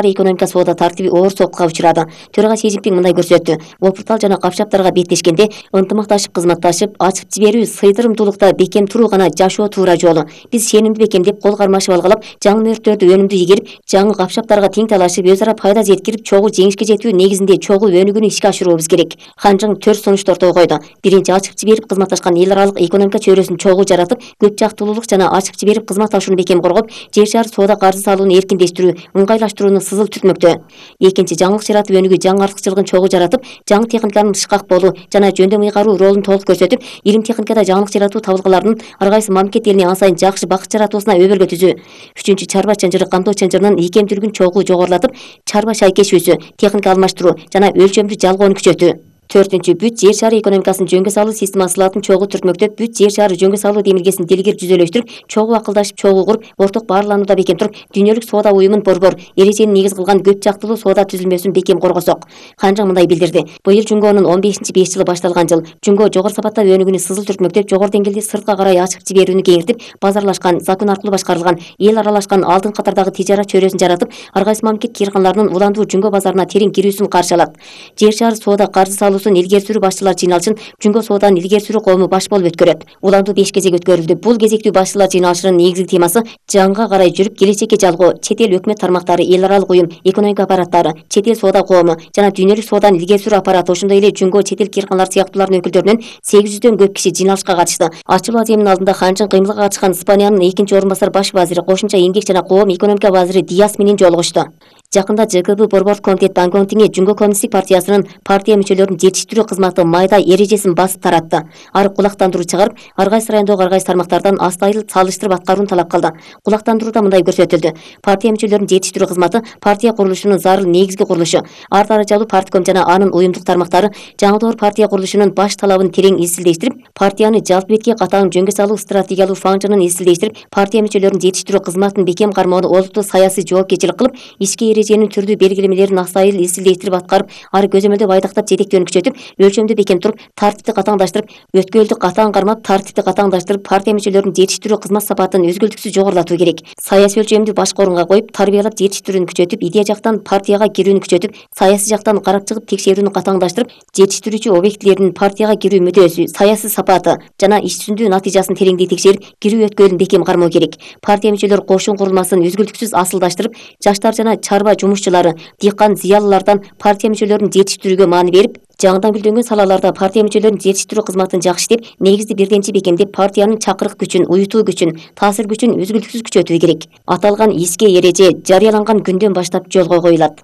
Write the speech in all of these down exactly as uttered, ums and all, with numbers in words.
экономика соода тартиби оор соокутка учурады. Төрага Си Цзиньпин мындай көрсөттү. Опуртал жана капшаптарга беттешкенде ынтымакташып кызматташып, ачып жиберүү, сыйдырымдуулукта бекем туруу гана жашоо туура жолу. Биз сенимди бекемдеп, кол кармашып алгалап, жаңы мөрттөрдү өнүмдүү игерип, жаңы капшаптарга тең талашып, өз ара пайда жеткирип, чогуу жеңишке жетүү негизинде чогуу өнүгүүнү ишке ашыруубуз керек. Хан Чжың төрт сунушту ортого койду. Биринчи, ачып жиберип кызматташкан эл аралык экономика чөйрөсүн чогуу жаратып, көп жактуулуулук жана ачып жиберип кызматташууну бекем коргоп, жер шаар соода каржы салууну эркиндештирүү, ыңгайлаштырууну сызыл түртмөктө. Экинчи, жаңылык жаратып өнүгүү, жаңы артыкчылыгын чогуу жаратып, жаңы техниканын ышкак болуу жана жөндөм ыйгаруу ролун толук көрсөтүп, илим техникада жаңылык жаратуу табылгаларынын ар кайсы мамлекет элине ан сайын жакшы бакыт жаратуусуна өбөлгө түзүү. Үчүнчү, чарба чынжыры камтоо чынжырынын ийкемдүүлүгүн чогуу жогорулатып, чарба шайкешүүсү, техника алмаштыруу жана өлчөмдүү жалгоону күчөтүү. Төртүнчү, бүт жер шары экономикасын жөнгө салуу система сылатын чогуу түртмөктөп, бүт жер шары жөнгө салуу демилгесин делегер жүзөлөштүрүп, чогуу акылдашып, чогуу куруп, орток баарланууда бекем туруп, дүйнөлүк соода уюмун борбор, эрежени негиз кылган көп жактылуу соода түзүлмөсүн бекем коргосок. Хан Чжың мындай билдирди. Быйыл Жунгонун он бешинчи беш жылы башталган жыл. Жунго жогору сапатта өнүгүүнү сызыл түртмөктөп, жогору деңгээлде сыртка карай ачып жиберүүнү кеңиртип, базарлашкан, закон аркылуу башкарылган, эл аралашкан алдыңкы катардагы тижарат чөйрөсүн жаратып, ар кайсы мамлекет кыйрканаларынын уландуу Жунго базарына терең кирүүсүн каршы алат. Жер шары соода каржы салуусун илгери сүрүү башчылар жыйналышын Жунго сооданын илгери сүрүү коому баш болуп өткөрөт. Уландуу беш кезек өткөрүлдү. Бул кезектүү башчылар жыйналышынын негизги темасы жаңыга карай жүрүп, келечекке жалгоо, чет эл өкмөт тармактары, эл аралык уюм, экономика аппараттары, чет эл соода коому жана дүйнөлүк сооданын илгери сүрүү аппараты, ошондой эле Жунго чет эл кыйрканалары сыяктуулардын өкүлдөрүнөн сегиз жүздөн көп киши жыйналышка катышты. Ачылуу аземинин алдында Хан Чжың кыймылга катышкан Испаниянын экинчи орун басар баш вазири, кошумча эмгек жана коом экономика вазири Диас менен жолугушту. Жакында Ж К Б борбордук комитет Дангоңтиңе Жунго коммунисттик партиясынын партия мүчөлөрүн жетиштирүү кызматы майда эрежесин басып таратты. Ары кулактандыруу чыгарып, ар кайсы райондогу ар кайсы тармактардан астайыл салыштырып аткарууну талап кылды. Кулактандырууда мындай көрсөтүлдү. Партия мүчөлөрүн жетиштирүү кызматы партия курулушунун зарыл негизги курулушу. Ар даражалуу партком жана анын уюмдук тармактары жаңы партия курулушунун баш талабын терең изилдештирип, партияны жалпы бетке катаң жөнгө салуу стратегиялуу фаңжынын изилдештирип, партия мүчөлөрүн жетиштирүү кызматынын бекем кармоону олуттуу саясий жоопкерчилик кылып, ички эреженин түрдүү белгилемелерин аксайыл изилдештирип аткарып, ары көзөмөлдөп айдактап жетектөөнү күчөтүп, өлчөмдү бекем туруп, тартипти катаңдаштырып, өткөлдү катаң кармап, тартипти катаңдаштырып, партия мүчөлөрүн жетиштирүү кызмат сапатын үзгүлтүксүз жогорулатуу керек. Саясий өлчөмдү башкы орунга коюп, тарбиялап жетиштирүүнү күчөтүп, идея жактан партияга кирүүнү күчөтүп, саясий жактан карап чыгып текшерүүнү катаңдаштырып, жетиштирүүчү объектилердин партияга кирүү мүдөөсү, саясий сапаты жана иш жүзүндүү натыйжасын тереңдей текшерип, кирүү өткөлүн бекем кармоо керек. Партия мүчөлөр кошун курулмасын үзгүлтүксүз асылдаштырып, жаштар жана чарба жумушчулары, дыйкан, зыялылардан партия мүчөлөрүн жетиштирүүгө маани берип, жаңыдан гүлдөнгөн салаларда партия мүчөлөрүн жетиштирүү кызматын жакшы иштеп, негизди бирденчи бекемдеп, партиянын чакырык күчүн, уютуу күчүн, таасир күчүн үзгүлтүксүз күчөтүү керек. Аталган иске эреже жарыяланган күндөн баштап жолго коюлат.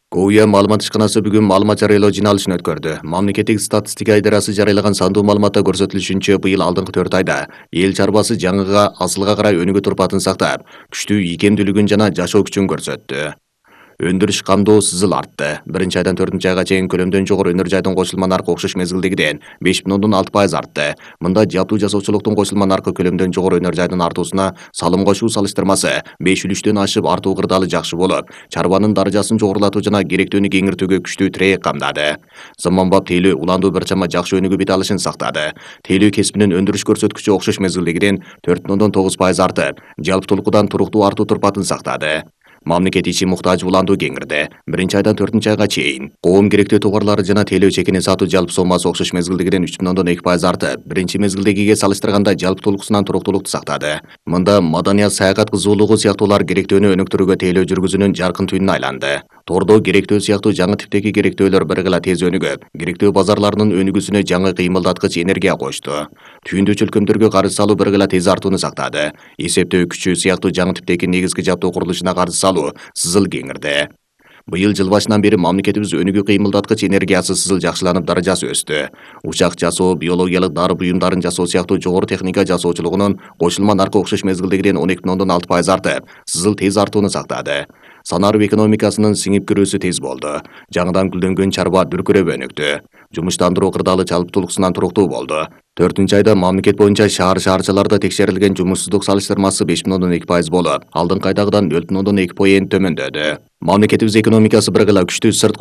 КОУЯ маалымат ишканасы бүгүн маалымат жарыялоо жыйналышын өткөрдү. Мамлекеттик статистика идарасы жарыялаган сандуу маалыматта көрсөтүлүшүнчө, быйыл алдыңкы төрт айда эл чарбасы жаңыга, асылга карай өнүгүү турпатын сактап, күчтүү ийкемдүүлүгүн жана жашоо күчүн көрсөттү. Өндүрүш камдоо сызыл артты. Биринчи айдан төртүнчү айга чейин көлөмдөн жогору өнөр жайдын кошулма наркы окшош мезгилдегиден беш бүтүн ондон алты пайыз артты. Мында жаптуу жасоочулуктун кошулма наркы көлөмдөн жогору өнөр жайдын артуусуна салым кошуу салыштырмасы беш үлүштөн ашып артуу кырдаалы жакшы болуп, чарбанын даражасын жогорулатуу жана керектүүнү кеңиртүүгө күчтүү тирээк камдады. Заманбап тейлөө уландуу бир чама жакшы өнүгүү бет алышын сактады. Тейлөө кесибинин өндүрүш көрсөткүчү окшош мезгилдегиден төрт бүтүн ондон тогуз пайыз артып, жалпытуулукудан туруктуу артуу турпатын сактады. Мамлекет ичи муктаж уландуу кеңирди. Биринчи айдан төртүнчү айга чейин коом керектүү товарлары жана тейлөө чекини сатуу жалпы соммасы окшош мезгилдегиден үч бүтүн ондон эки пайыз артып, биринчи мезгилдегиге салыштырганда жалпытуулукусунан туруктуулукту сактады. Мында маданият, саякат кызуулугу сыяктуулар керектүүнү өнүктүрүүгө тейлөө жүргүзүүнүн жаркын түйүнүнө айланды. Тордо керектөө сыяктуу жаңы типтеги керектөөлөр бир гыла тез өнүгөп, керектөө базарларынын өнүгүүсүнө жаңы кыймылдаткыч энергия кошту. Түйүндүү чөлкөмдөргө каржы салуу бир гыла тез артууну сактады. Эсептөө күчү сыяктуу жаңы типтеги негизги жаптоо курулушуна каржы салуу сызыл кеңирди. Быйыл жыл башынан бери мамлекетибиз өнүгүү кыймылдаткыч энергиясы сызыл жакшыланып, даражасы өстү. Учак жасоо, биологиялык дары буюмдарын жасоо сыяктуу жогору техника жасоочулугунун кошулма наркы окшош мезгилдегиден он эки бүтүн ондон алты пайыз артып, сызыл тез артууну сактады. Санаруу экономикасынын сиңип кирүүсү тез болду. Жаңыдан гүлдөнгөн чарба дүркүрөп өнүктү. Жумуштандыруу кырдаалы жалпытуулукусунан туруктуу болду. төртүнчү айда мамлекет боюнча шаар шаарчаларда текшерилген жумушсуздук салыштырмасы беш бүтүн ондон эки пайыз болуп, алдыңкы айдагыдан нөл бүтүн ондон эки поент төмөндөдү. Мамлекетибиз экономикасы бир гыла күчтүү сырткы